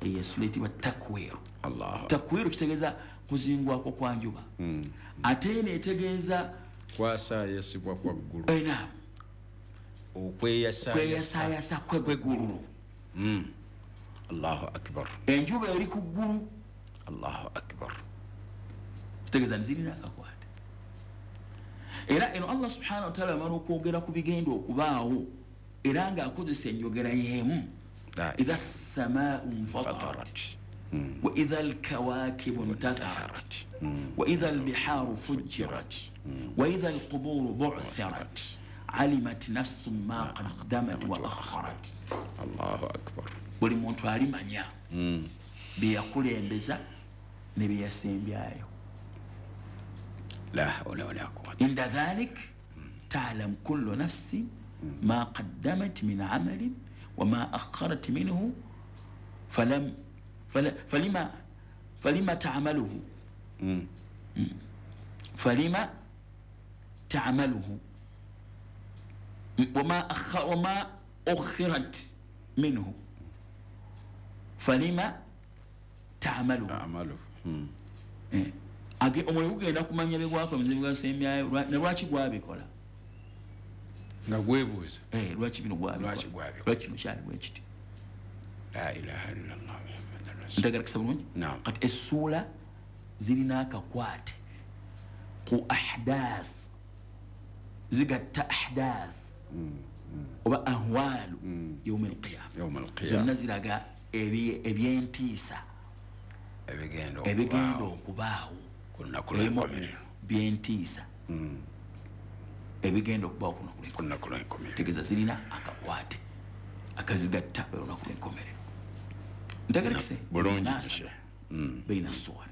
Eyo esula eyitibwa Takwiru. Allah. Takwiru kitegeeza kuzingwako kwa njuba, ate eno etegeeza kwasayasibwa kwa ggulu. Naam. Okweyasayasa. Kweyasayasa kweggulu. Allahu akbar. Enjuba eri ku ggulu. Allahu akbar. Kitegeeza nzirina akakwate. Era eno Allah subhanahu wataala amala okwogera ku bigenda okubaawo, era ng'akozesa enjogera y'emu: idha samaau nfatarat, Fatarat. wa idha alkawakibu ntatharat, wa idha albiharu fujirat, wa idha alquburu bu'thirat, alimat nafsun ma qaddamat wa akharat. Allahu akbar. Buli muntu alimanya byeyakulembeza ne byeyasembyayo. La hawla wala quwwata. Inda dhalik ta'lam kullu nafsin ma qaddamat min amalin wa ma akharat minhu, falam falima falima ta'maluhu, falima ta'maluhu wama ukhirat minhu falima ta'maluhu. Amalu. Age omwoyo gugenda kumanya byegwakoze, byegwasembyayo, ne lwaki gwabikola. Nga gwebuuza. Lwaki bino gwabikola? Lwaki gwabikola? Lwaki kino kyali bwe kiti? La ilaha illallah Muhammadan rasul. Ntegerekesa bulungi? Naam. Kati essuula zirina akakwate ku ahdath, zigatta ahdath oba ahwalu yaumi alqiyama. Yawm alqiyama. Zonna ziraga ebyentiisa ebigenda ebigenda okubaawo okubaawo ku lunaku ebimu ku lw'enkomerero. byentiisa ebigenda okubaawo ku lunaku Ku lw'enkomerero. lunaku lw'enkomerero. Tegeeza zirina akakwate akazigatta olunaku lw'enkomerero. Ntegerekese? Bulungi. Munasaba Sheikh. baina suwar.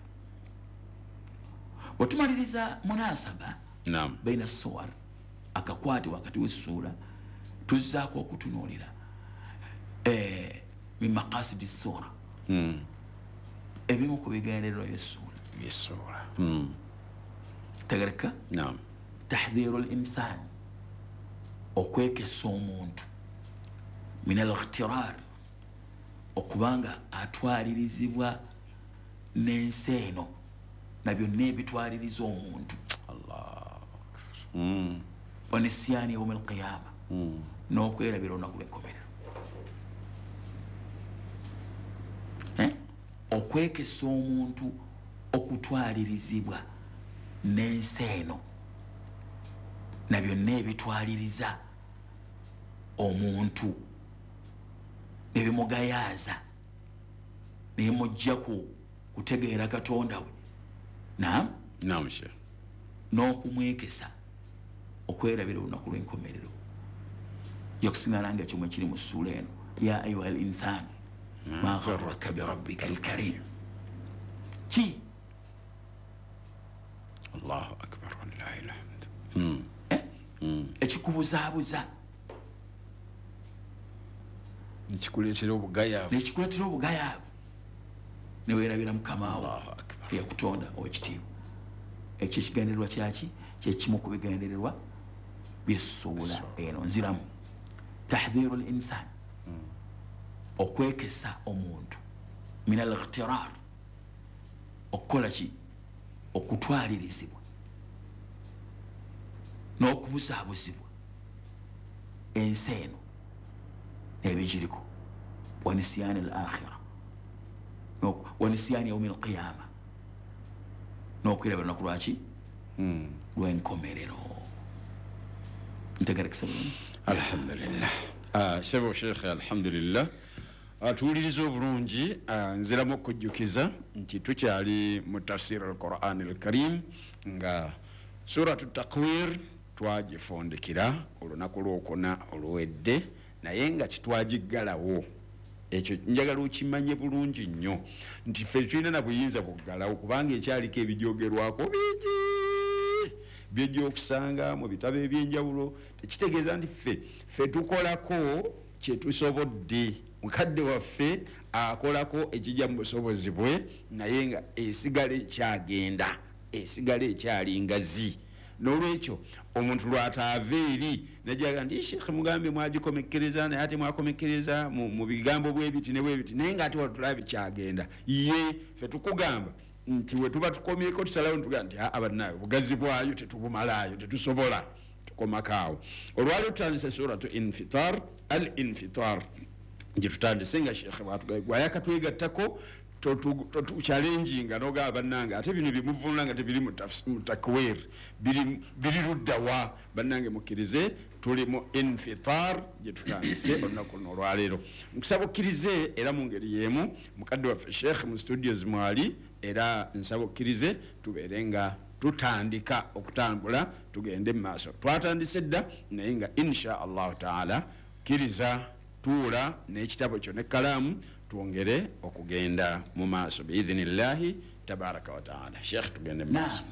Bwetumaliriza munasaba Naam. baina suwar, akakwate wakati w'essuula, tuzzaako okutunuulira min maqasidi sura, ebimu ku bigendererwa by'essuula. By'essuula. Tegereka? Naam. Tahdhiru l insan, okwekesa omuntu, min al ightirar, okubanga atwalirizibwa n'ensi eno na byonna ebitwaliriza omuntu, Allah. wa nisyani yaumi alqiyama, n'okwerabira olunaku lw'enkomerero. Okwekesa omuntu okutwalirizibwa n'ensi eno na byonna ebitwaliriza omuntu nebimugayaaza nebimujja ku kutegeera Katonda we. Naam. Naam, Sheikh. N'okumwekesa okwerabira olunaku lw'enkomerero. Yakusiŋŋana nga kyomwe kiri mu ssuula eno: ya ayuha al insan ma gharraka birabbika alkarim. Ki? Allahu akbar walillahi alhamd. Ekikubuzaabuza Nekikuleetera obugayaavu. Nekikuleetera obugayaavu neweerabira Mukama wo Allahu akbar. eyakutonda owekitiibwa. Ekyo ekigendererwa kyaki? Kyekimu ku bigendererwa byessuula eno. Nziramu: tahdhiru l insan, okwekesa omuntu, min al ightirar, okukola ki? Okutwalirizibwa n'okubuzaabuzibwa ensi eno n'ebigiriko, wa nisyani al akhira, wa nisyani yaumi alqiyama, n'okwerabira olunaku lwaki? Lw'enkomerero. Ntegerekesa bulungi? Alhamdulillah. Sebo Sheikh, alhamdulillah. Tuwuliriza obulungi. Nziramu okujjukiza nti tukyali mu tafsir al-Quran al-Karim, nga suratu Takwir twagifundikira ku lunaku lwokuna oluwedde, naye nga kitwagiggalawo. Ekyo njagala okimanye bulungi nnyo nti ffe tulina na buyinza buggalawo, kubanga ekyaliko ebijoogerwako bingi byejja okusanga mu bitabo ebyenjawulo. Tekitegeeza nti ffe tukolako kyetusobodde. Mukadde waffe akolako ekijja mu busobozi bwe, naye nga esigala ekyagenda, esigala ekyali ngazi. N'olwekyo omuntu lwataava eri najaga nti Sheikh mugambe mwagikomekkereza, naye ate mwakomekkereza mu bigambo bwebiti ne bwebiti, naye nga ate watulaba kyagenda. Ye ffe tukugamba nti we tuba tukomyeko tusalawo ntugamba nti abannaayo obugazi bwayo tetubumalaayo, tetusobola, tukomakaawo. Olwaliro tutandise suratu Infitar, al Infitar gye tutandise nga Sheikh bwatugwayakatwegattako totuchallenginga nogaba bannange ate bino byemuvunula nga tebiri mu takwir, biri luddawa. Bannange mukkirize tuli mu Infitar gye tutandise olunaku luno olwaleero. Nkusaba okkirize era mu ngeri y'emu mukadde waffe Sheikh mu studios mwali, era nsaba okkirize tubeere nga tutandika okutambula tugende mu maaso. Twatandise dda naye nga insha Allahu taala kkiriza tuula n'ekitabo kyo n'ekkalaamu twongere okugenda mu maaso biidhinillahi tabaraka wa taala. Sheikh tugende mu maaso.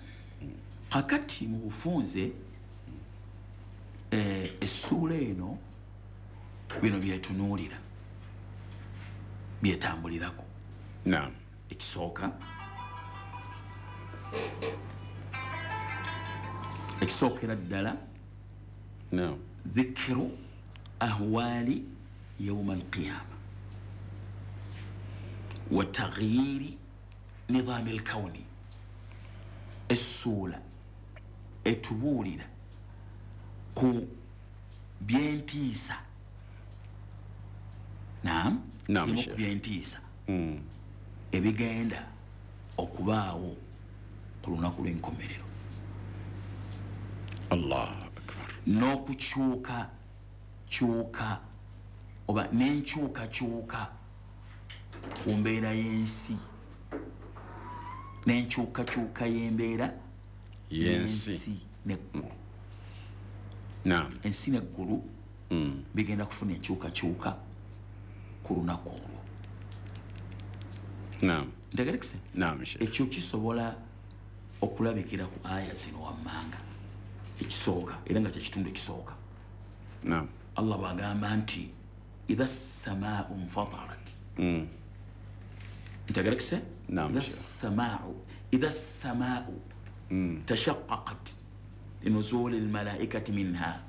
Kakati mu bufunze essuula eno bino byetunuulira byetambulirako. Naam. Ekisooka ekisookera ddala, naam, dhikiru ahwali yauma alqiyama wa taghyiri nidhami alkauni. Essuula etubuulira ku byentiisa. Naam, ku byentiisa ebigenda okubaawo ku lunaku lw'enkomerero. Allahu akbar. N'okukyuka kyuka oba n'enkyukakyuka ku mbeera y'ensi, n'enkyukakyuka y'embeera y'ensi n'eggulu. Naam. Ensi n'eggulu bigenda kufuna enkyukakyuka ku lunaku olwo. Naam. Ntegerekese? Naam, Sheikh. Ekyo kisobola okulabikira ku aya zino wammanga. Ekisooka era nga kyekitundu ekisooka. Naam. Allah bw'agamba nti idha samaau nfatarat. Ntegerekese? Naam. Idha samaau tashaqqaqat linuzuli almalaikati minha.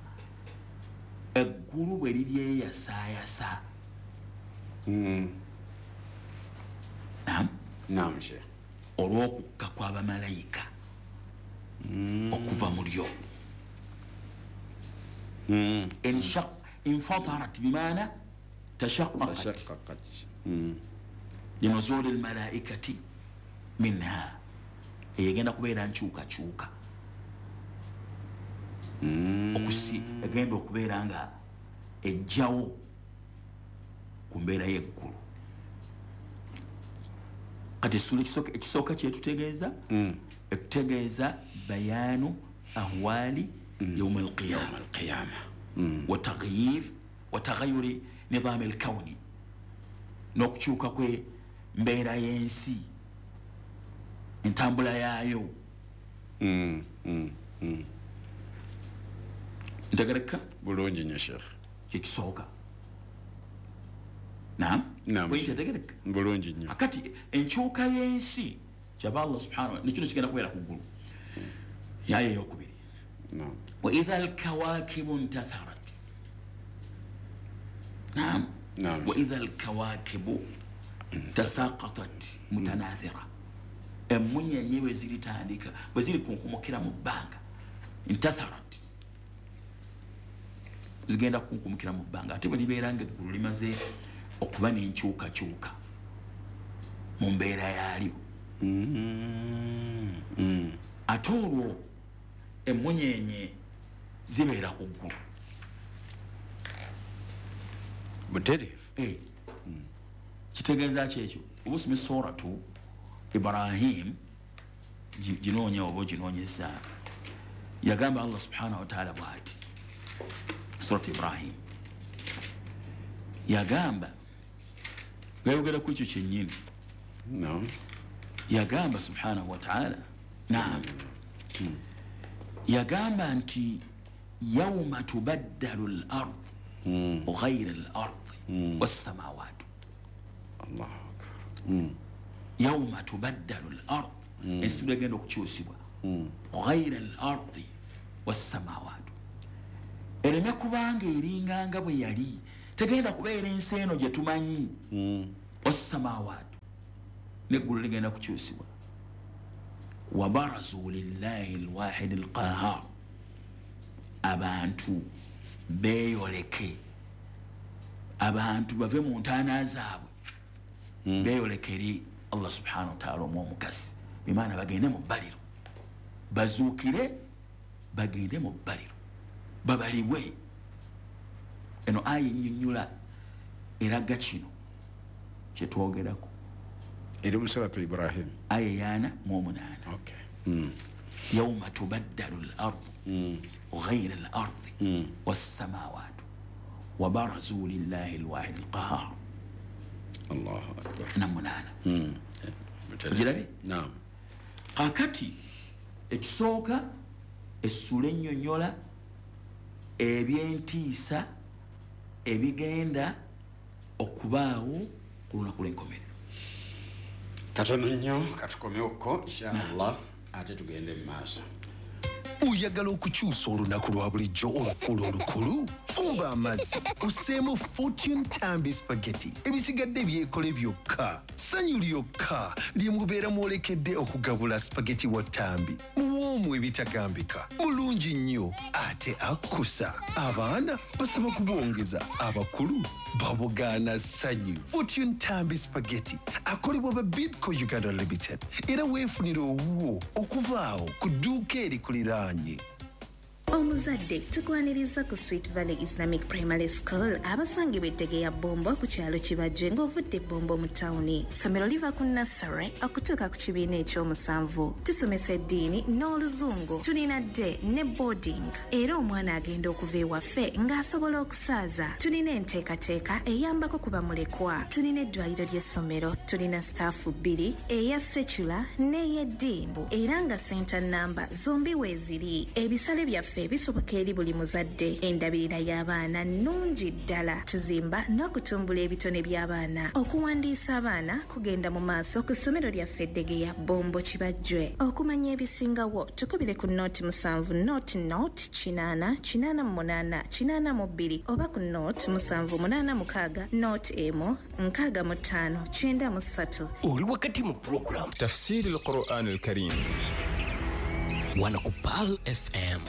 Eggulu bwe liryeyasaayasa. Naam. Naam, Sheikh. Olw'okukka kw'abamalayika okuva mu lyo. Infatarat bimaana tashaqqaqat linuzuli almalaikati minha. Egenda kubeera nkyukakyuka. Egenda okubeera nga ejjawo ku mbeera y'eggulu. Kati essuula ekisooka kyetutegeeza, etutegeeza bayaanu ahwali yauma alqiyama wa taghyir wa taghayyuri nidhami alkauni, n'okukyuka kwe mbeera y'ensi, entambula yaayo. Ntegereka bulungi nnyo Sheikh. Kyekisooka. Naam. Ntegereka bulungi nnyo. Akati enkyuka y'ensi kyava Allah subhanahu wa ta'ala nekino kigenda kubeera ku ggulu. Yaya eyokubiri. Naam. Wa idha alkawakibu ntatharat. Naam. Naam. Wa idha alkawakibu tasaqatat mutanathira. Emmunyenye bwe ziritandika bwe ziri kunkumukira mu bbanga, ntatharat, zigenda kunkumukira mu bbanga. Ate bwe libeera nga eggulu limaze okuba n'enkyukakyuka mu mbeera yaalyo, ate olwo emmunyenye zibeera ku ggulu butereevu. Kitegeeza ki ekyo? Oba osome suratu Ibrahim, ginoonya oba oginoonyeza. Yagamba Allah subhanahu wa ta'ala bw'ati, suratu Ibrahim yagamba, gayogera ku ekyo kyennyini. No. Yagamba subhanahu wa ta'ala, naam, yagamba nti yauma tubaddalu al-ard ghayra al-ard was-samawat. Allahu akbar. Yauma tubaddalu al-ard, ensi egenda okukyusibwa, ghayra al-ard, Wassamawatu ereme kubanga eringanga bwe yali, tegenda kubeera ensi eno gye tumanyi. Wassamawatu, neggulu ligenda kukyusibwa. Wabarazu lillahi alwahidi alqahar, abantu beeyoleke, abantu bave mu ntaana zaabwe beeyoleke eri Allah subhanahu wa ta'ala omukasi, bimaana bagende mu bbaliro, bazuukire bagende mu bbaliro babalibwe. Eno aya ennyonnyola eraga kino kyetwogerako. Eri mu suratu Ibrahim aya 48. Okay. Yawma tubaddalu al-ardu ghayra al-ardi was-samawatu wa barazu lillahi al-wahid al-qahhar. Allahu akbar. 8. Ogirabye? Naam. Kakati ekisooka essula ennyonnyola ebyentiisa ebigenda okubaawo ku lunaku lw'enkomerero. Katono nnyo katukomewoko inshallah, ate tugende mu maaso. Oyagala okukyusa olunaku lwa bulijjo olufuula olukulu? Fumba amazzi osseemu Fortune Tambi spaghetti, ebisigadde byekole byokka. Ssanyu lyokka lye mubeera mwolekedde okugabula spaghetti wa Tambi. Muwoomu ebitagambika, mulungi nnyo ate akkusa. Abaana basaba kubongeza, abakulu babugaana ssanyu. Fortune Tambi spaghetti akolebwa ba Bidco Uganda Limited, era weefunire owuwo okuva awo ku dduuka erikuliraanye. Omuzadde tukwaniriza ku Sweet Valley Islamic Primary School abasangibwa ettege ya Bombo ku kyalo Kibajje ng'ovudde Bombo mu tawuni. Ssomero liva ku nursery okutuuka ku kibiina ekyomusanvu. Tusomesa eddiini n'oluzungu. Tulina day ne boarding, era omwana agenda okuva ewaffe ng'asobola okusaaza. Tulina enteekateeka eyambako ku bamulekwa. Tulina eddwaliro ly'essomero. Tulina staafu 2, eya secular n'ey'eddiini, era nga center namba zombi weeziri. Ebisale byaffe bisoboka eri buli muzadde. Endabirira y'abaana nnungi ddala. Tuzimba n'okutumbula ebitone by'abaana. Okuwandiisa abaana kugenda mu maaso ku ssomero lyaffe Eddegeya Bombo Kibajjwe. Okumanya ebisingawo tukubire ku 07 00 8 88 82 oba ku 0786 01 65 93. Oli wakati mu program Tafsiri al-Quran al-Karim Wanakupal FM.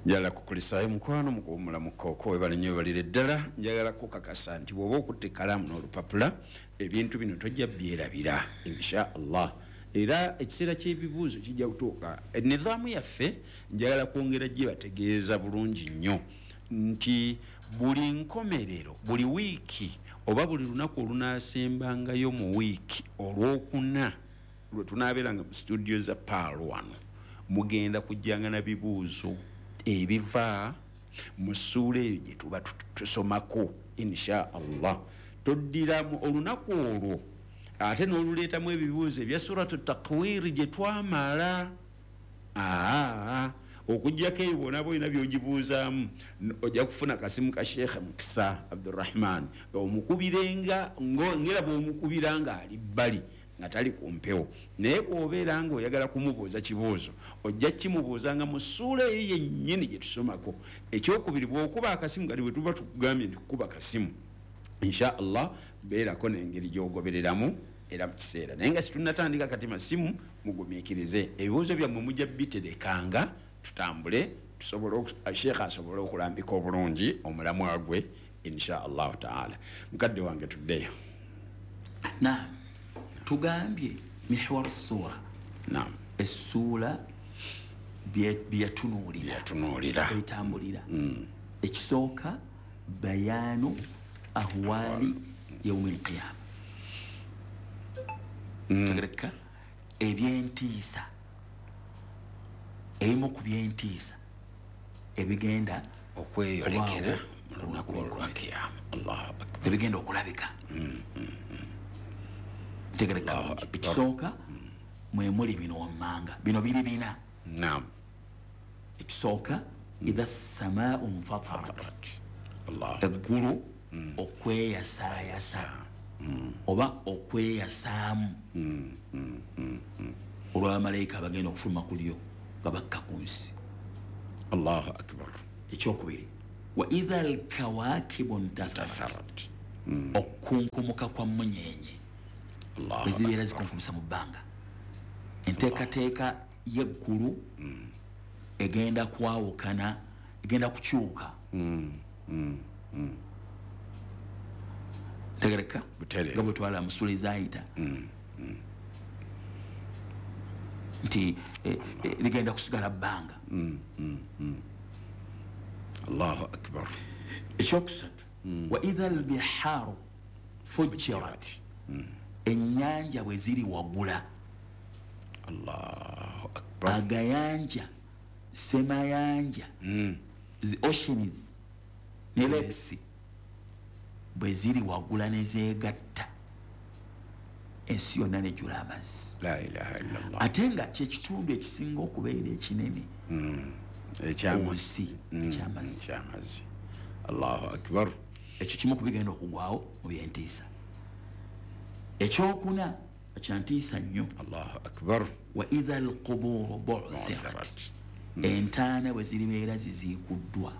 Njagala kukulisaayo mukwano mukuwummula mukooko, webale nnyo webalire ddala. Njagala kukakasa nti bw'oba okutte ekkalaamu n'olupapula, ebintu bino tojja byerabira insha Allah. Era ekiseera ky'ebibuuzo kijja kutuuka. Enizaamu yaffe njagala kwongera gye bategeeza bulungi nnyo nti buli nkomerero, buli wiiki oba buli lunaku olunaasembangayo mu wiiki olwokuna lwe tunaabeeranga mu studio za Pearl wano, mugenda kujjanga na bibuuzo ebiva mu ssuula eyo gye tuba tusomako insha Allah. Toddiramu olunaku olwo ate n'oluleetamu ebibuuzo ebya suratu Takwiri gye twamala. Okuggyako ebyo bw'onaaba olina by'ogibuuzaamu, ojja kufuna kasimu ka Sheikh Mukisa Abdurrahman, omukubirenga ngera bw'omukubira ng'ali bbali nga tali ku mpewo. Naye bw'obeera ng'oyagala kumubuuza kibuuzo, ojja kimubuuzanga mu ssuula eyo yennyini gye tusomako. Ekyokubiri, bw'okuba akasimu kati bwe tuba tukugambye nti kukuba kasimu, insha Allah beerako n'engeri gy'ogobereramu era mu kiseera. Naye nga situnnatandika kati masimu, mugumiikirize ebibuuzo byammwe mujja biterekanga, tutambule tusobole Sheikh asobole okulambika obulungi omulamwa gwe insha Allah taala. Mukadde wange tuddeyo. Naam, tugambye mihwar sura. Naam, essuula byatunuulira etambulira. Ekisooka bayanu ahwali yaumi alqiyama. Tegereka ebyentiisa, ebimu ku byentiisa ebigenda okweyolekera mu lunaku lw'ekiyama. Allahu akbar. Ebigenda okulabika. Tegereka ekisooka mwe muli bino wammanga, bino biri bina. Naam. Ekisooka idha samaa'u nfatarat, Allah eggulu okweyasaayasa oba okweyasaamu olw'abamalayika abagenda okufuluma ku lyo. Nga bakka ku nsi. Allahu akbar. Ekyokubiri, wa idha alkawakibu ntatharat, okukunkumuka kwa munyenye bwe zibeera zikunkumisa mu bbanga, enteekateeka y'eggulu egenda kwawukana, egenda kukyuka. Ntegereka? Butereevu. Nga bwe twala mu ssuula ezaayita nti ligenda kusigala bbanga. Allahu akbar. Ekyokusatu, wa idha albihaaru fujirat, ennyanja bwe ziri wagula. Allahu akbar. Agayanja, semayanja, the oceans ne lakes bwe ziri wagula nezeegatta, ensi yonna nejjula amazzi. La ilaha illallah. Ate nga kyekitundu ekisinga okubeera ekinene ku nsi ekyamazzi. Ekyamazzi. Allahu akbar. Ekyo kimu ku bigenda okugwawo mu byentiisa. Ekyokuna kyantiisa nnyo. Allahu akbar. Wa idha alquburu bu'thirat, entaana bwe ziribeera ziziikuddwa,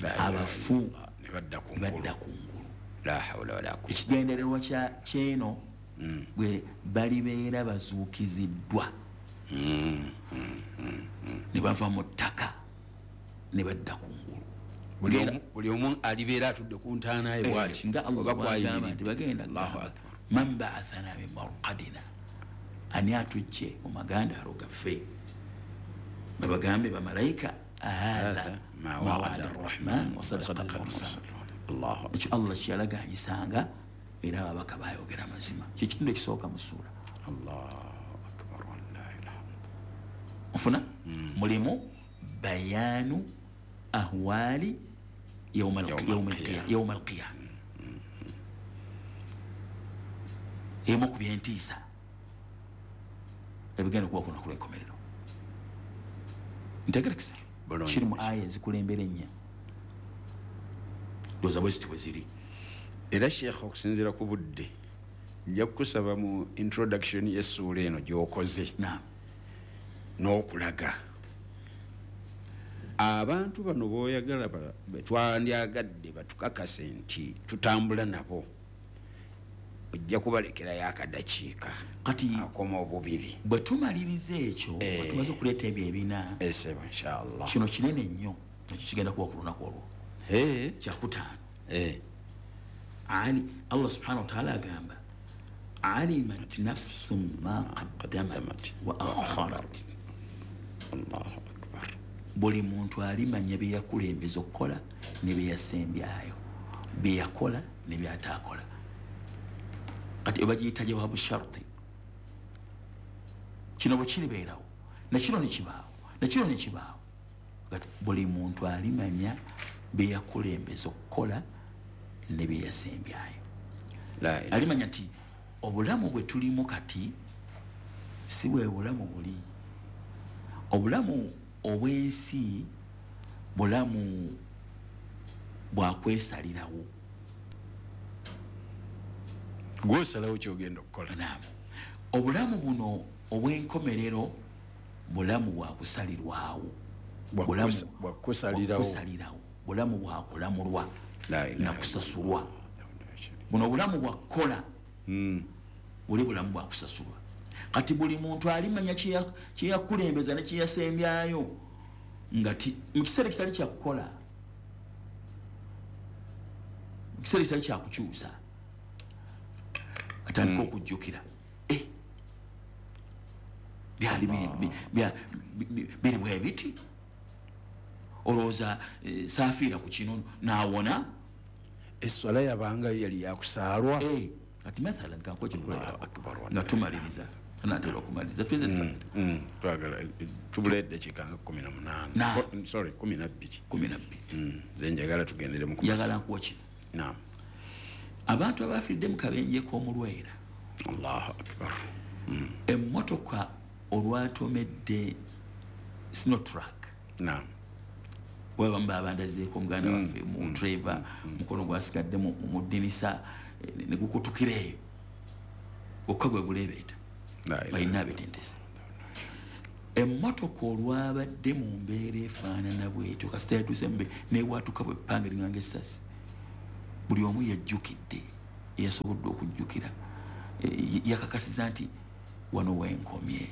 La ilaha abafu illallah. Ne badda ku ngulu. Badda ku ngulu. La hawla wala quwwata. Ekigendererwa kyeno bwe balibeera bazuukiziddwa ne bava mu ttaka ne badda ku ngulu. Buli omu alibeera atudde ku ntaana ye bwaki nga Allah oba bwagamba nti kwayimiridde. bagenda Allahu kugamba, akbar. Man baathana min marqadina, ani atujje mu magandaalo gaffe? Babagambe bamalayika, hatha ma ma wa'ada wa'ada arrahman wa sadaqa almursalun. Allahu Ekyo Allah kyeyalaganyisanga, era ababaka bayogera mazima. Kyekitundu ekisooka mu ssuula. Allahu akbar, wallahi alhamd. Ofuna mulimu bayanu ahwali Yawm al-qiyama. yawma alqiyama, emu ku byentiisa ebigenda okuba ku lunaku lw'enkomerero. Ntegerekesa? Bulungi. Kiri mu aya ezikulembera ennya, ndowooza bwe ziti bwe ziri. Era sheekh, okusinziira ku budde, nja kukusaba mu introduction y'essuula eno gy'okoze Naam. n'okulaga abantu bano boyagala betwandyagadde batukakase nti tutambula nabo, ojja kubalekerayo akadakiika Kati akoma obubiri. bwe tumaliriza ekyo, bwe tumaze okuleeta ebyo ebina, Esebo, inshallah. kino kinene nnyo, ekyo kigenda kuba ku lunaku olwo kyakutaano. Ali Allah subhanahu wataala agamba, alimat nafsum ma qaddamat wa akharat. Allahu akbar. Buli muntu alimanya byeyakulembeza okukola ne byeyasembyayo, byeyakola ne byataakola. Kati bagiyita jawabu sharti. Kino bwe kiribeerawo, nakino nekibaawo, nakino nekibaawo, kati buli muntu alimanya byeyakulembeza okukola ne byeyasembyayo. La ilaha. Alimanya nti obulamu bwe tulimu kati si bwe bulamu buli. Obulamu obw'ensi bulamu bwakwesalirawo. Gwosalawo kyogenda okukola. Naam. Obulamu buno obw'enkomerero bulamu bwakusalirwawo. Bwakusalirawo. Bwakusalirawo, bulamu bwakulamulwa La ilaha. nakusasulwa. Buno obulamu bwakukola, buli bulamu bwakusasulwa. Kati buli muntu alimanya kyeyakulembeza ne kyeyasembyayo nga mu kiseera kitali kyakukola, mu kiseera kitali kyakukyusa, atandika okujjukira, "Eh, byali biri bwe biti, olowooza saafiira ku kino naawona." Eswala yabanga yali yakusaalwa. Eh, kati mathalan kankuwa ekyokulabirako. Akbar. Nga tumaliriza, tunaatera okumaliriza, tuweze. Twagala tubula eddakiika nga 18. Sorry, 12. 12. Nze njagala tugendere mu Njagala nkuwa kino. Naam. Abantu abafiiridde mu kabenje k'omulwera, Allahu akbar. Emmotoka olwatomedde Sinotruck, babamu babandazeeko omuganda waffe mu driver, mukono gwasigadde mu ddinisa, ne gukutukira eyo gwokka gwe guleebeeta. La ilaha. Balina abetentese. Emmotoka olwabadde mu mbeera efaanana bwetyo, kasita yatuuse newatuka bwe ppanga ringanga essasi, buli omu yajjukidde, yasobodde okujjukira, yakakasiza nti wano wenkomye.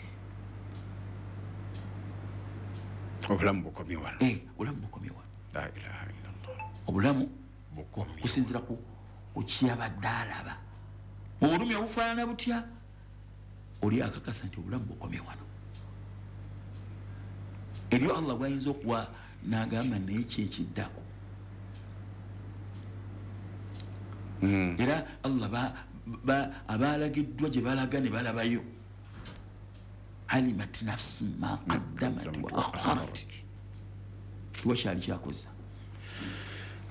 Obulamu bukomye wano. Obulamu bukomye wano. La ilaha illallah. Obulamu bukomye kusinzira ku kyabadde alaba mu bulumi obufaanana butya, oli akakasa nti obulamu bukomye wano. Eryo Allah gwayinza okuwa n'agamba naye kyekiddako. Era Allah abalagiddwa gye balaga ne balabayo, alimat nafsu ma qaddamat wa akharat, kiwa kyali kyakoza.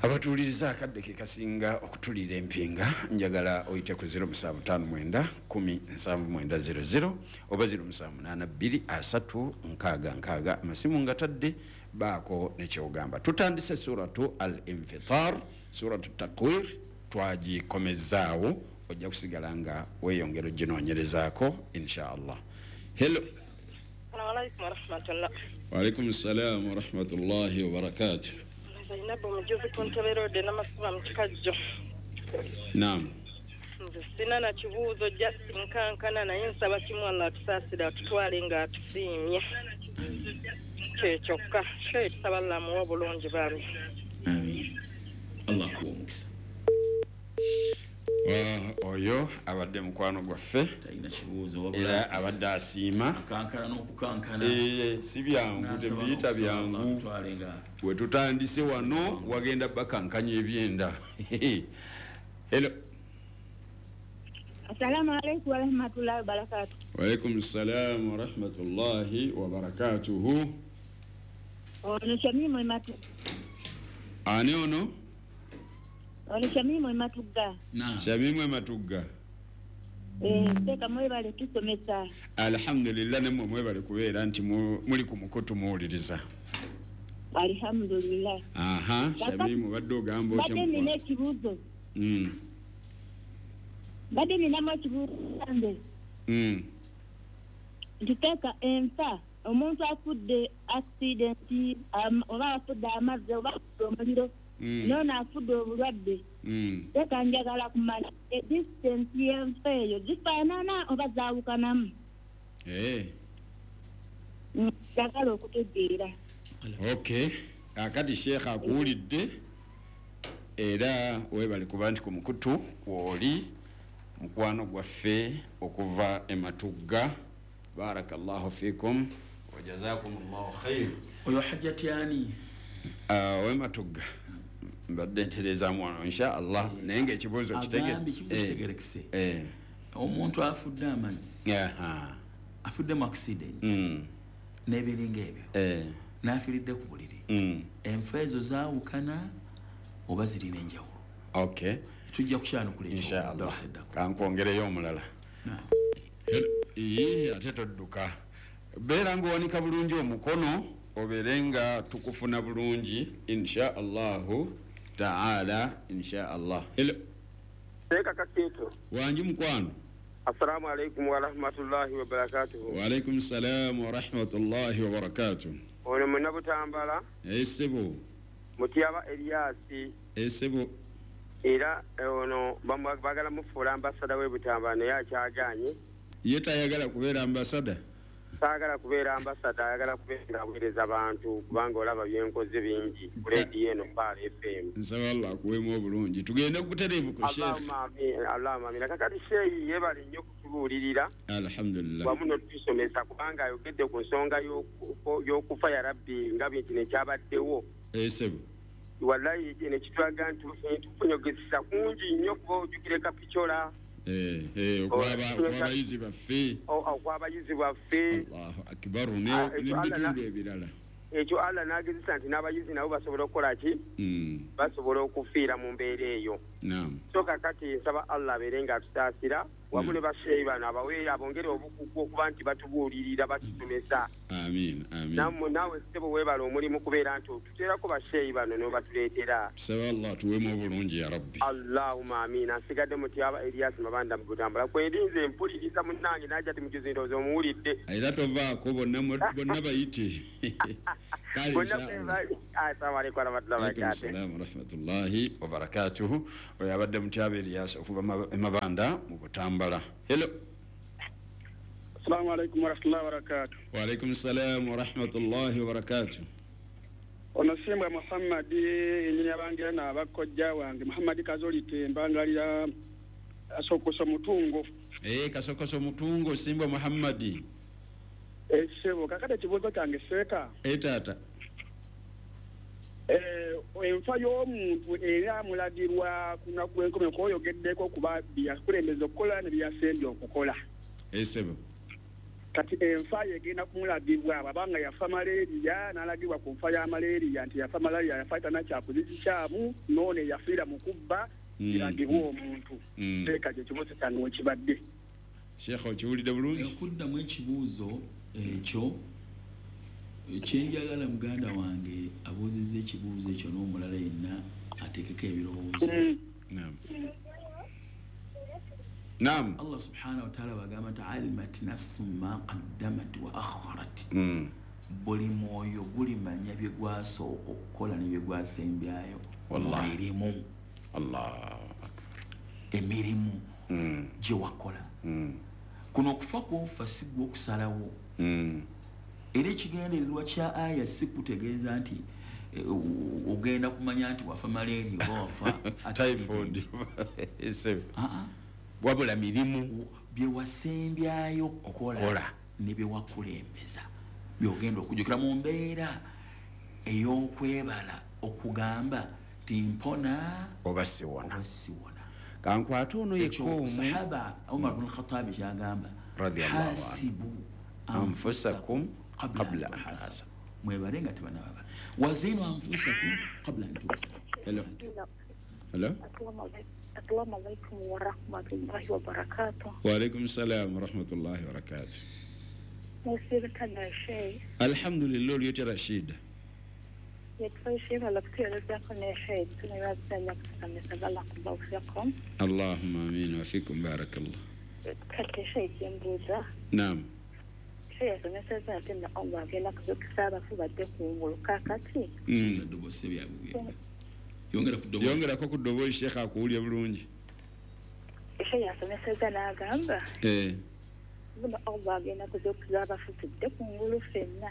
Abatuuliriza, akadde ke kasinga okutuliira empinga. Njagala oyite ku 0759 107900 oba 0782 3 6 6. Amasimu nga tadde baako nekyogamba. Tutandise Suratu Al Infitar, Suratu Takwir twagikomezaawo, ojja kusigala nga weeyongera oginoonyerezaako insha Allah. Hello. Alaikum warahmatullah. Waalaikum salam warahmatullahi wabarakatuh. Zainabu Mujuzi ku Ntebe Road, Namasuba mu Kikajjo. Naam. Nze sina na kibuuzo, just nkankana, naye nsaba kimu, Allah atusaasire, atutwale nga atusiimye, kyekyokka. Kyo tusaba Allah amuwe obulungi bambi. Amin, Allah akuwa omukisa. Oyo abadde mukwano gwaffe. Talina kibuuzo. Era abadde asiima. Akankana n'okukankana. Si byangu, tebiyita byangu. Wetutandise wano wagenda bakankanya ebyenda. Hello. Assalamu alaikum warahmatullahi wabarakatuh. Waalaikum salam warahmatullahi wabarakatuhu. Ono Shamimu Ematu. Ani ono? Ono Shamimu Ematuga. Shamimu Ematuga. Teka mwebale tusomesa. Alhamdulillah, namwe mwebale kubeera nti muli ku mukutu muwuliriza. Alhamdulillah. Aha, Shamimu, badde ogamba otya? Badde nina ekibuuzo. Badde ninamu ekibuuzo nze. Ntiteeka enfa, omuntu afudde accident, oba afudde amazzi, oba afudde omuliro, noono afudde obulwadde. Teeka njagala kumanya edistance y'enfa eyo gifaanana oba zaawukanamu? Njagala okutegeera. Okay, akati sheekha akuwulidde, era webale kuba nti ku mukutu kwoli, mukwano gwaffe okuva Ematugga. Barakallahu fikum wa jazakum llahu khair. Oyo Hajjati ani? Wematugga mbadde ntereezaamu wano insha Allah, naye nga ekibuuzo agambye ekibuuzo kitegerekese. Omuntu afudde amazzi, afudde mu accident n'ebiringa ebyo, n'afiiridde ku buliri, enfa ezo zaawukana oba zirina enjawulo? Okay. Tujja kukyanukula. Insha Allah. Kankwongereyo omulala. Ate todduka, beera ngaowanika bulungi omukono, obeere nga tukufuna bulungi insha Allahu taala, insha Allah. Hello. Teeka Kakeeto. Wangi mukwano. Assalamu alaikum warahmatullahi wabarakatuhu. Waalaikum salam warahmatullahi wabarakatuh. Ono Munabutambala. Esebo. Mutyaba Eliasi. Esebo. Era ono bagala mufuula ambasada w'Ebutambala, naye akyaganye. Ye tayagala kubeera ambasada? Saagala kubeera ambasada, ayagala kubeera aweereza abantu, kubanga olaba byenkoze bingi ku leediyo eno Pearl FM. Nsaba Allah akuweemu obulungi. Tugende butereevu ku sheekh. Allahumma amin, allahumma amin. Kakati sheeyi yeebale nnyo okutubuulirira Alhamdulillah. wamu n'okutusomesa, kubanga ayogedde ku nsonga y'okufa ya Rabbi nga bintu nekyabaddewo. Esebo. Wallahi nekitulaga nti tufunyogezesa kungi nnyo, kuba ojjukire Kapicola okwabayizi baffe. Okwabayizi baffe. Allahu akbar, nemubitundu ebirala. Ekyo Allah n'agezesa nti n'abayizi nabo basobola okukola ki? Basobola okufiira mu mbeera eyo. Naam. So kakati nsaba Allah abeere nga atusaasira. Wamu ne basheeyi bano abaweera abongere obukugu okuba nti batubuulirira batusomesa. Amiin, amiin. Nammwe naawe ssebo weebale omulimu kubeera nti otuteerako basheeyi bano n'obatuleetera. Tusaba Allah atuweemu obulungi ya Rabbi. Allahumma amiina. Nsigadde Mutyaba Elias Mabanda mu Butambala. Kwendi nze mpuliriza munnange najja ti mujuzi ndowooza omuwulidde. Era tovaako bonna bonna bayite. Kale inshallah. Assalamu alaikum warahmatullahi wabarakatuh. Assalamu warahmatullahi wabarakatuh. Oyo abadde Mutyaba Elias okuva e Mabanda mu Butambala. Hello. Assalamu alaikum warahmatullahi wabarakatuh. Wa alaikum salam warahmatullahi wabarakatuh. Ono Simbwa Muhammad ennyini abangira n'abakojja wange Muhammad Kazoli Tembangalira Kasokoso Mutungo. Kasokoso Mutungo Simbwa Muhammad. Sebo kakati ekibuuzo kyange seeka. Taata. Enfa y'omuntu era amulagirwa ku lunaku lw'enkomerero kw'oyogeddeko kuba bye yakulembeza okukola ne bye yasembye okukola. Sebo. Kati enfa ye egenda kumulagibwa bw'abanga yafa malaria n'alagibwa ku nfa ya malaria nti yafa malaria yafa tanakyakoze kikyamu n'ono eyafiira mu kubba kiragibwa omuntu. Seeka kye kibuuzo kyange we kibadde. Sheikh okiwulidde bulungi? Okuddamu ekibuuzo ekyo kyenjagala muganda wange abuuzizza ekibuuzo ekyo n'omulala yenna ateekeko ebirowoozo. Naam. Allah subhanahu wa ta'ala bagamba nti alimat nafsun ma qaddamat wa akharat. Buli mwoyo gulimanya bye gwasooka okukola ne bye gwasembyayo. Wallahi. Emirimu. Allahu akbar. Emirimu gye wakola. Kuno okufa kwofa si gwe okusalawo. Era ekigendererwa kya aya si kutegeeza nti ogenda kumanya nti wafa malaria oba wafa typhoid. Wabula mirimu bye wasembyayo okukola ne bye wakulembeza byogenda okujjukira mu mbeera ey'okwebala okugamba nti mpona oba siwona. Kankwate ono yekka omu. Sahaba Umar bin Khattab kyagamba radiyallahu anhu, hasibu anfusakum qabla an tuhasabu. Mwebale nga tebanababa. Wazinu anfusakum qabla an tuhasabu. Hello. Hello. Assalamu alaikum wa rahmatullahi wa barakatuh. Wa alaikum salam wa rahmatullahi wa barakatuh. Alhamdulillah oliyoti Rashid. Allahumma amin wa fikum barakallah. Naam. Yongerako ku ddoboozi Sheikh akuwulira bulungi. Yasomeseza n'agamba buno Allah agenda kuzuukiza abafu tudde ku ngulu ffenna.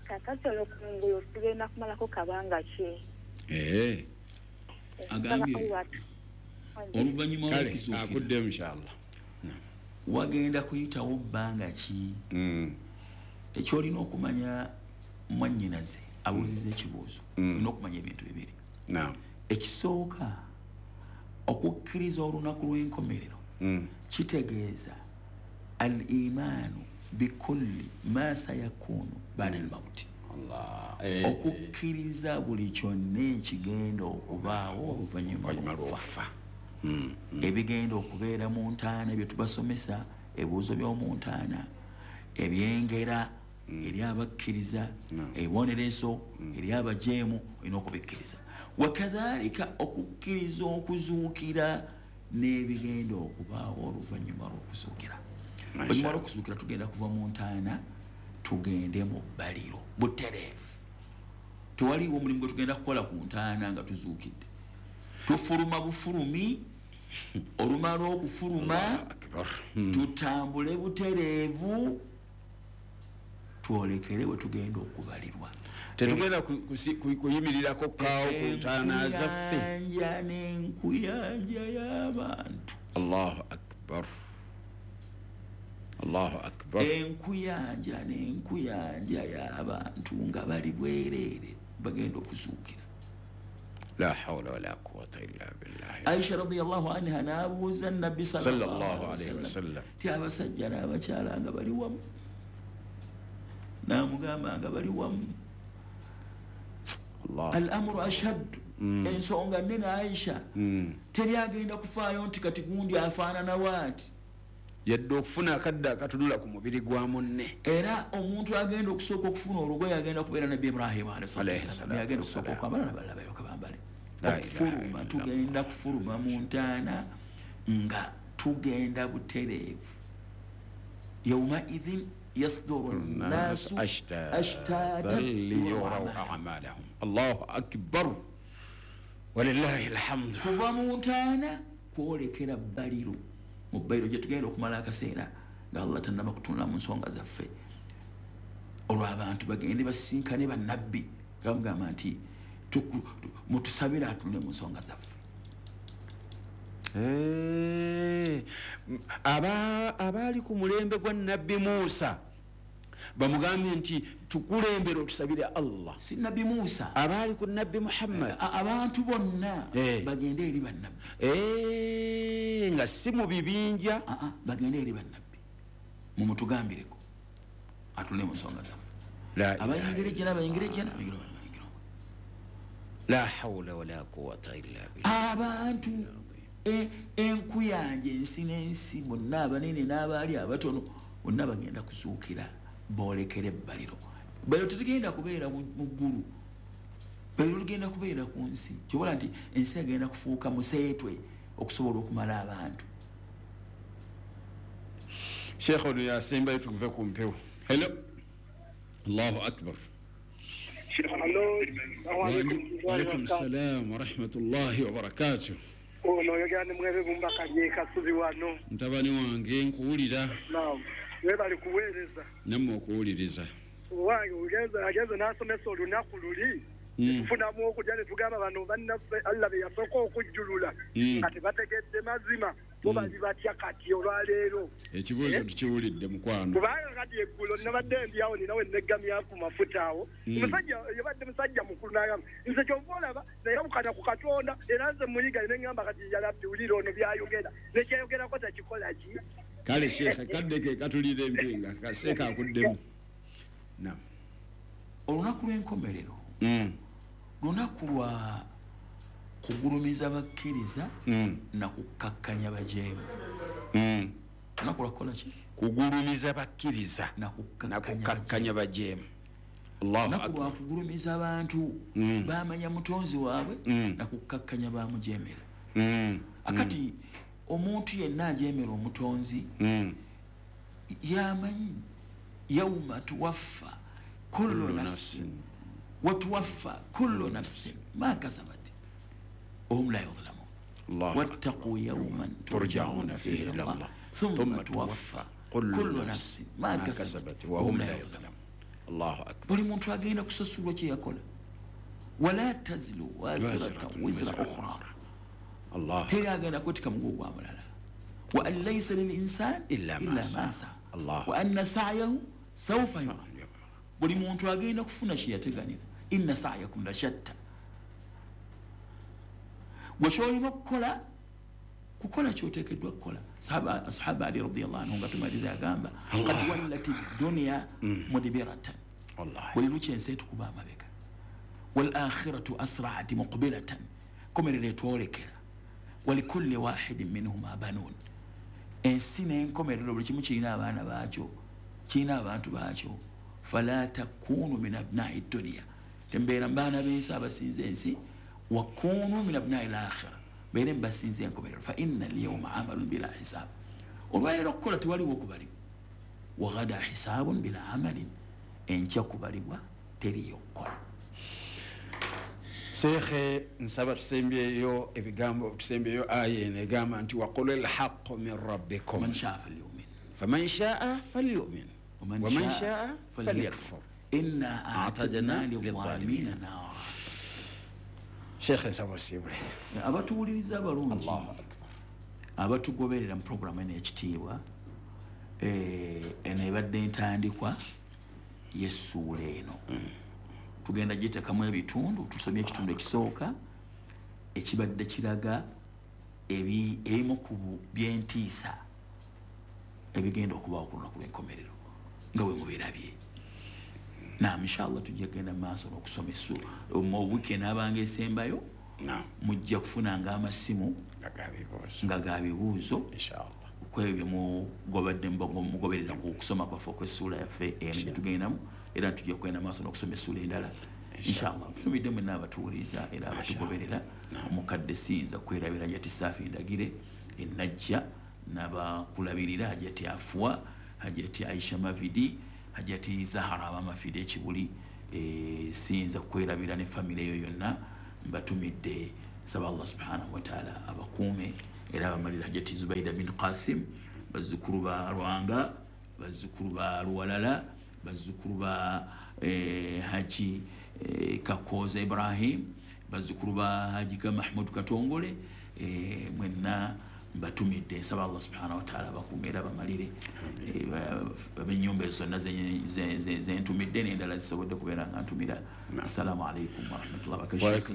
Kaakati olwo ku ngulu tugenda kumalako kabanga ki? Agambye oluvannyuma lw'okuzuukira akudde inshallah wagenda kuyitawo bbanga ki? Ekyolina okumanya mwannyinaze abuuziza ekibuuzo olina okumanya ebintu bibiri. Ekisooka okukkiriza olunaku lw'enkomerero kitegeeza al-imaanu bikulli ma sayakunu ba'da al-mawti. Okukkiriza buli kyonna ekigenda okubaawo oluvannyuma lw'okufa. Ebigenda okubeera mu ntaana bye tubasomesa, ebibuuzo by'omu ntaana, ebyengera eri abakkiriza, ebibonerezo eri abajeemu, olina okubikkiriza. Wakadhalika okukkiriza okuzuukira n'ebigenda okubaawo oluvannyuma lw'okuzuukira. Oluvannyuma lw'okuzuukira tugenda kuva mu ntaana tugende mu bbaliro butereevu. Tewaliwo omulimu gwe tugenda kukola ku ntaana nga tuzuukidde. Tufuluma bufulumi, olumala okufuluma tutambule butereevu twolekere we tugenda okubalirwa. Tetugenda kuyimirirako kaawo ku ntaana zaffe. Enkuyanja n'enkuyanja y'abantu. Allahu akbar. Allahu akbar. Enkuyanja n'enkuyanja y'abantu nga bali bwereere bagenda okuzuukira. La hawla wala quwwata illa billah. Aisha radiyallahu anha n'abuuza Nabbi sallallahu alayhi wasallam ti abasajja n'abakyala nga bali wamu, n'amugamba nga bali wamu. Al-amru ashaddu Ensonga nnene Aisha. Teri agenda kufaayo nti kati gundi afaanana waati. Yadde okufuna akadde akatunula ku mubiri gwa munne. Era omuntu agenda okusooka okufuna olugoye agenda kubeera Nabbi Ibrahim alayhi salatu agenda okusooka okwambala n'abalala balyoke bambale. Okufuluma tugenda kufuluma mu ntaana nga tugenda butereevu. Yawma idhin yasduru nnasu ashtatan liyuraw a'malahum. Allahu akbar walillahi alhamdu. Kuva mu ntaana kwolekera bbaliro. Mu bbaliro gye tugenda okumala akaseera nga Allah tannaba kutunula mu nsonga zaffe. Olwo abantu bagende basisinkane bannabbi nga bamugamba nti mutusabire atunule mu nsonga zaffe. Abaali ku mulembe gwa Nabbi Musa bamugambye nti tukulembere otusabire Allah. Si Nabbi Musa, abaali ku Nabbi Muhammad, abantu bonna bagende eri bannabbi. Nga si mu bibinja, bagende eri bannabbi mumutugambireko atunule mu nsonga zaffe. Abayingira ejjana bayingira ejjana, bayingira bayingira. La hawla wala quwwata illa billah. Abantu enkuyanja ensi n'ensi bonna abanene n'abaali abatono bonna bagenda kuzuukira boolekere ebbaliro. Bbaliro tetugenda kubeera mu ggulu, bbaliro tugenda kubeera ku nsi. Kyobola nti ensi egenda kufuuka museetwe okusobola okumala abantu. Sheikh ono yasembayo tuve ku mpewo. Hello. Allahu akbar. Wa alaykum salam wa rahmatullahi wa barakatuh. Ono oyogera ne Mwebe Bumba Kalye Kasubi wano. Mutabani wange nkuwulira. Naam. Webali kuweereza. Nammwe okuwuliriza. Wange ugenza n'asomesa olunaku luli. Tufunamu okujja ne tugamba bano bannaffe Allah be yasooka okujjulula. Kati bategedde mazima. Bo bali batya kati olwaleero. Ekibuuzo tukiwulidde mukwano. Kubanga kati eggulo nabadde ndi awo ninawe neggamya ku mafuta awo. Omusajja yabadde musajja mukulu n'agamba nze kyova olaba nayawukana ku Katonda era nze muyiga ne ŋŋamba kati yalabbi wulira ono by'ayogera nekyayogerako takikola ki. Kale Sheikh kadde ke katulira empinga kaseeka akuddemu. Naam. Olunaku lw'enkomerero lunaku lwa kugulumiza bakkiriza na kukakkanya bajeemu. Lunaku lwa kukola ki? Kugulumiza bakkiriza na kukakkanya bajeemu. Lunaku lwa kugulumiza abantu bamanya mutonzi waabwe na kukakkanya bamujeemera. Akati omuntu yenna ajeemera omutonzi yamanyi yauma tuwaffa kullu nafsin wa tuwaffa kullu nafsin ma kasabat وهم لا يظلمون. واتقوا يوما ترجعون فيه إلى الله ثم توفى كل نفس ما كسبت وهم لا يظلمون. الله أكبر. Buli muntu agenda kusasulwa kye yakola. Wala tazilu waziratun wizra ukhra. Allah. Teri agenda kwetika mugugu gwa mulala. Wa an laysa lil insan illa ma sa'a. Allah. Wa anna sa'yahu sawfa yura. Buli muntu agenda kufuna kye yateganira. Inna sa'yakum la shatta. Gwe ky'olina okukola kukola ky'oteekeddwa kukola. Sahaba Ali radiyallahu anhu nga tumaliza yagamba qad wallat dunya mudbiratan. Buli lukya ensi etukuba amabega. Wal akhiratu asra'at muqbilatan. Komerero etwolekera. Walikulli wahidin minhuma banun. Ensi n'enkomerero buli kimu kirina abaana baakyo, kirina abantu baakyo. Fala takunu min abna'i dunya. Tembeera mu baana b'ensi abasinza ensi. وكونوا من أبناء الآخرة بينهم بس زينكم فإن اليوم عمل بلا حساب والله كل توالي وكبري وغدا حساب بلا عمل إن كبري وتري يقول Sheikh nsaba tusembyeyo ebigambo tusembyeyo aya enegamba nti waqul alhaq min rabbikum man shaa falyu'min faman shaa falyu'min waman shaa falyakfur inna a'tadna lidh-dhalimina nara. Sheikh nsaba osibule. Abatuwuliriza abalungi abatugoberera mu programu eno ekitiibwa eno ebadde entandikwa y'essuula eno. Tugenda giteekamu ebitundu, tusomye ekitundu ekisooka ekibadde kiraga ebimu ku by'entiisa ebigenda okubaawo ku lunaku lw'enkomerero nga bwe mubirabye. Naam, inshallah tujja kugenda mu maaso n'okusoma essuula mu wiiki enaabanga esembayo. Mujja kufunanga amasimu nga ga bibuuzo kwebyo mugobadde mugoberera ku kusoma kwaffe okw'essuula yaffe eno gye tugendamu, era tujja kugenda maaso n'okusoma essuula endala inshallah. Tutumidde mwenna abatuwuliriza era abatugoberera. Omukadde siyinza kwerabira Hajati Saafi Ndagire enajja n'abakulabirira, Hajati Afwa, Hajati Aisha Mavidi, Hajati Zahara Abamafide Ekibuli, siyinza kwerabira ne famire eyo yonna. Mbatumidde, nsaba Allah subhanahu wa ta'ala abakuume era abamalira. Hajati Zubaida bin Qasim, bazzukulu ba Lwanga, bazzukulu ba Luwalala, bazzukulu ba Haji Kakoza Ibrahim, bazzukulu ba Haji Mahmud Katongole, mwenna mbatumidde, nsaba Allah subhanahu wa ta'ala abakuume era abamalire. Ab'ennyumba ezo zonna zentumidde n'endala zisobodde kubeera nga ntumira. Assalamu alaikum warahmatullahi wabarakatuh.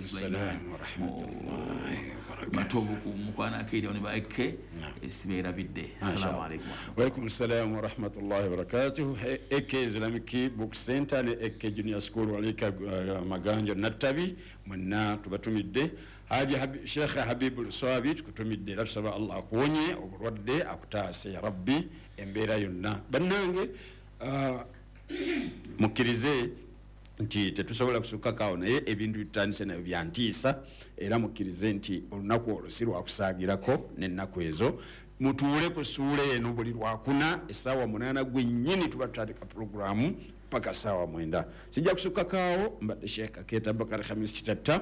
Matovu ku mukwana akeire ne ba eke sibeerabidde. Assalamu alaikum. Wa alaikum assalam wa rahmatullahi wa barakatuh. Eke Islamic Book Center ne Eke Junior School walika Maganja Nattabi, mwenna tubatumidde. Haji Sheikh Habib Luswabi tukutumidde, era tusaba Allah akuwonye obulwadde, akutaase ya Rabbi embeera yonna. Bannange, mukkirize nti tetusobola kusukkakaawo, naye ebintu bitandise nabyo byantiisa, era mukkirize nti olunaku olwo si lwakusaagirako n'ennaku ezo. Mutuule ku ssuula eno buli lwakuna essaawa 8 gwennyini tuba tutandika puroguramu paka ssaawa 9. Sijja kusukkakaawo. Mbadde Sheikh Kakeeta Bakari Khamis Kitatta,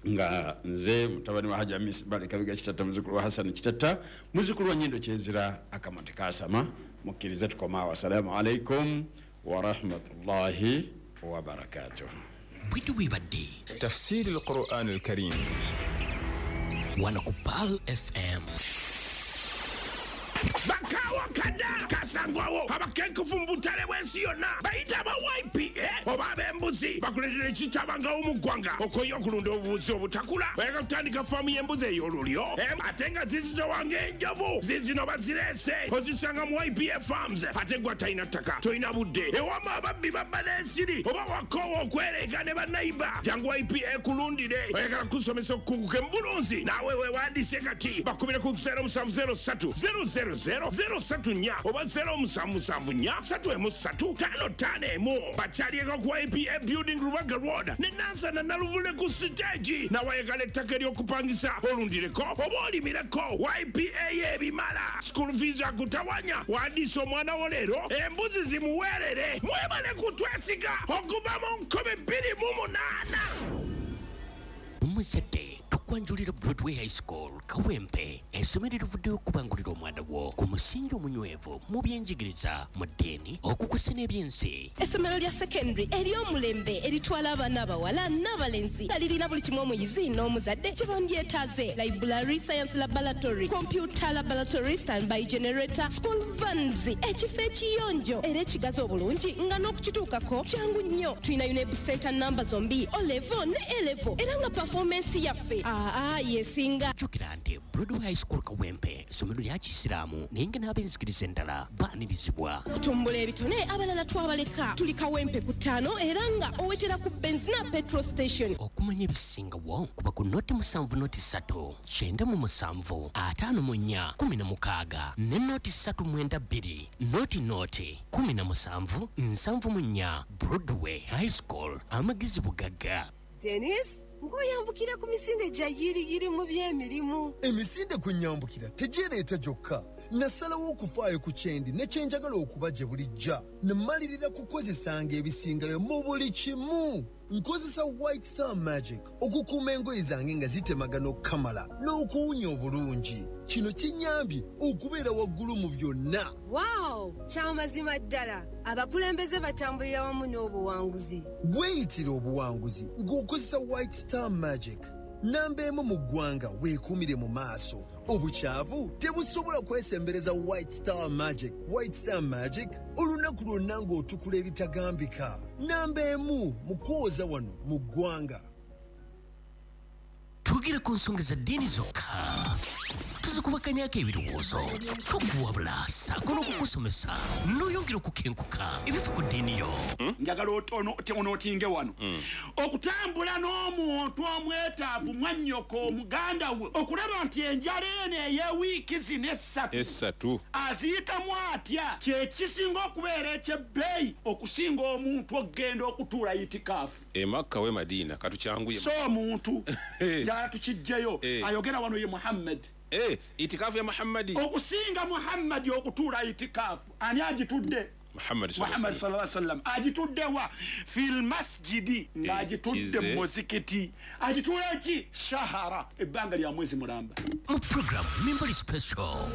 nga nze mutabani wa Haji Hamis Balekabiga Kitatta, muzzukulu wa Hassan Kitatta, muzzukulu wa Nyindo Kyezira akamate kaasama. Mukkirize tukomaawo. Assalamu alaikum wa rahmatullahi wa barakatuh. Bwitu bwibadde Tafsiri al-Quran al-Karim wano ku Pearl FM. Bakawa kada kasangwawo abakenkufu mu butale bw'ensi yonna bayita aba YPA oba ab'embuzi bakuleetera ekitabangawo mu ggwanga okoye okulunda obubuzi obutakula. Oyagala kutandika faamu y'embuzi ey'olulyo ate nga zizitowa ng'enjovu, zizino bazireese ozisanga mu YPA Farms. Ate gwe atalina ttaka, tolina budde, ewama ababbi babba n'ensiri oba wakoowa okwereega ne bannayiba, jangu YPA kulundire. Oyagala kusomesa okukuguka mu bulunzi, naawe weewandiise kati bakubire ku 0703 000 034 oba 0774 313 551. Bakyalieko ku YPA Building Rubaga Road ne Nansana Naluvule ku siteegi. Nawayagala ettaka ery'okupangisa olundireko oba olimireko, YPA y'ebimala. School fees akutawanya, wandiisa omwana wo leero, embuzi zimuweerere. Mwebale kutwesiga okuva mu 2008. Omuzadde, tukwanjulira Broadway High School Kawempe, essomero erivuddeyo okubangulira omwana wo ku musingi omunywevu mu byenjigiriza, mu ddiini, okukusa n'ebyensi. Essomero lya secondary ery'omulembe eritwala abaana abawala n'abalenzi nga lirina buli kimu omuyizi n'omuzadde kye bandyetaaze: library, science laboratory, computer laboratory, standby generator, school vans, ekifo ekiyonjo era ekigazi obulungi nga n'okukituukako kyangu nnyo. Tulina UNEB center namba zombi, O level ne A level, era nga performance yaffe yesinga. Jjukira nti Broadway High School Kawempe essomero lya Kisiraamu, naye nga n'ab'enzikiriza endala baanirizibwa. Okutumbula ebitone abalala twabaleka. Tuli Kawempe ku 5 era nga owetera ku Benzina petrol station. Okumanya ebisingawo kuba ku 070 3 97 54 16 ne 0392 00 17 74. Broadway High School, amagezi bugagga. Dennis, ng'oyambukira ku misinde gya yiriyiri mu by'emirimu. Emisinde kunyambukira tegyereeta gyokka. Nasalawo okufaayo ku kyendi ne kyenjagala okuba gye bulijja. Nemmalirira kukozesanga ebisingayo mu buli kimu. Nkozesa White Star Magic okukuuma engoye zange nga zitemagana okukamala n'okuwunya obulungi. Kino kinnyambye okubeera waggulu mu byonna. Wow! Kyamazima ddala, abakulembeze batambulira wamu n'obuwanguzi. Weeyitira obuwanguzi ng'okozesa White Star Magic. Namba emu mu ggwanga, weekuumire mu maaso. Obukyavu tebusobola kwesembereza White Star Magic. White Star Magic olunaku lwonna ng'otukula ebitagambika. Namba emu mu kwoza wano mu ggwanga. Twogere ku nsonga za ddiini zokka. Tuzikubakanyako ebirowoozo, tukuwabula ssaako n'okukusomesa n'oyongera okukenkuka ebifa ku ddiini yo. Njagala onootinge wano okutambula n'omuntu omwetaavu, mwannyoko, omuganda we, okulaba nti enjala eno ey'ewiiki zino 3 aziyitamu atya, kyekisinga okubeera ekyebbeeyi okusinga omuntu okugenda okutuula itikaafu e Makka we Madiina. Katukyanguye. So omuntu njagala tukijjeyo, ayogera wano ye Muhammad. Itikaafu ya Muhammadi okusinga Muhammadi okutuula itikaafu. Ani agitudde? Muhammad. Muhammad sallallahu alaihi wasallam. Agitudde wa? Fil masjidi, ng'agitudde mu muzikiti. Agituula ki? Shahara, ebbanga lya mwezi mulamba. Mu program Mimbali Special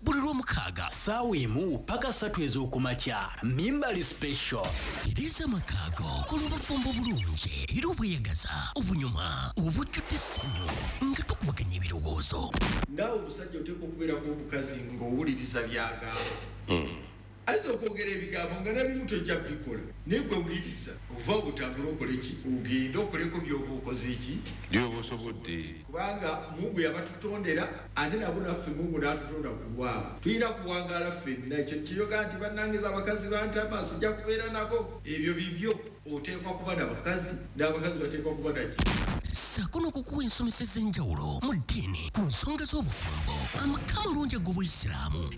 buli Lwomukaaga 1 paka 3 ez'okumakya, Mimbali Special. Tereza amakaago, kola obufumbo bulungi era obweyagaza, obunyuma, obujjudde essanyu nga tukubaganya ebirowoozo. Naawe omusajja oteekwa okubeerako omukazi ng'owuliriza by'agamba. Ayinza okwogera ebigambo nga nabimu tojja bikola, naye gwe wuliriza, ova obutambula okole ki, ogende okoleko by'oba okoze ki, byoba osobodde. Kubanga Mungu yabatutondera, ate nabo naffe Mungu n'atutonda ku lwabwe. Tulina kuwangaala ffenna. Ekyo kiyoga nti bannangiza abakazi bantama sijja kubeera nabo, ebyo bibyo. Oteekwa kuba nabakazi n'abakazi bateekwa kuba naki. Ssaako n'okukuwa ensomesa ez'enjawulo mu ddiini ku nsonga z'obufumbo, amaka amalungi ag'obuyisiraamu,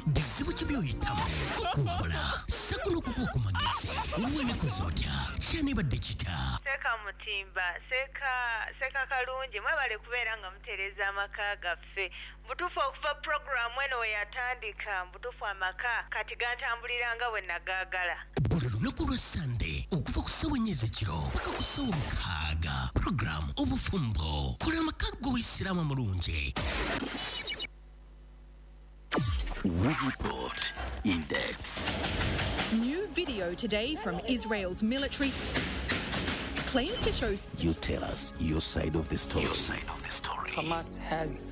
bizibu ki by'oyitamu, okuwabula ssaako n'okukuwa ku magezi. Wenekoza otya? Kyanibadde kita? Seeka Mutimba, seeka Kalungi, mwebale kubeera nga mutereeza amaka gaffe. Mbutuufu okuva puroguramu eno we yatandika, mbutuufu amaka kati gantambulira nga bwe nagaagala. Buli lunaku lwa Sande okuva ku ssaawa 4 ez'ekiro paka ku ssaawa 6, puroguramu Obufumbo, kola amaka g'obuyisiraamu amalungi. We report in depth. New video today from Israel's military claims to show. You tell us your side of the story. Your side of the story. Hamas has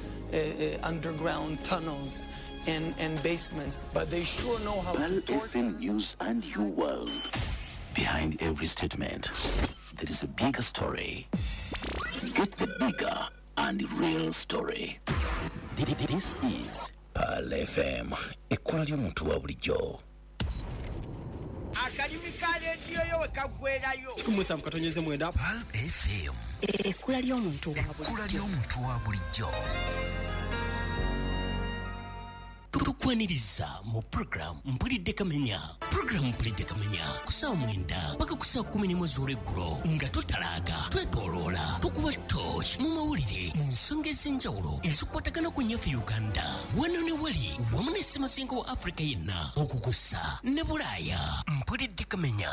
underground tunnels and basements, but they sure know how Pearl to torture. FM News and your world. Behind every statement, there is a bigger story. Get the bigger and real story. This is Pearl FM, ekkola ly'omuntu wa bulijjo. Akalimi ka leediyo yo we kaggwerayo. 17.9 Pearl FM, ekkula ly'omuntu wa ekkula ly'omuntu wa bulijjo. Tukwaniriza mu program Mpulidde Kamenya. Program Mpulidde Kamenya ku ssaawa 9 paka ku ssaawa 11 ez'olweggulo, nga totalaaga, twetooloola, tukuba torch mu mawulire mu nsonga ez'enjawulo ezikwatagana ku nnyaffe Uganda, wano ne wali, wamu ne ssemazinga wa Afrika yenna, okukussa ne Bulaaya. Mpulidde Kamenya.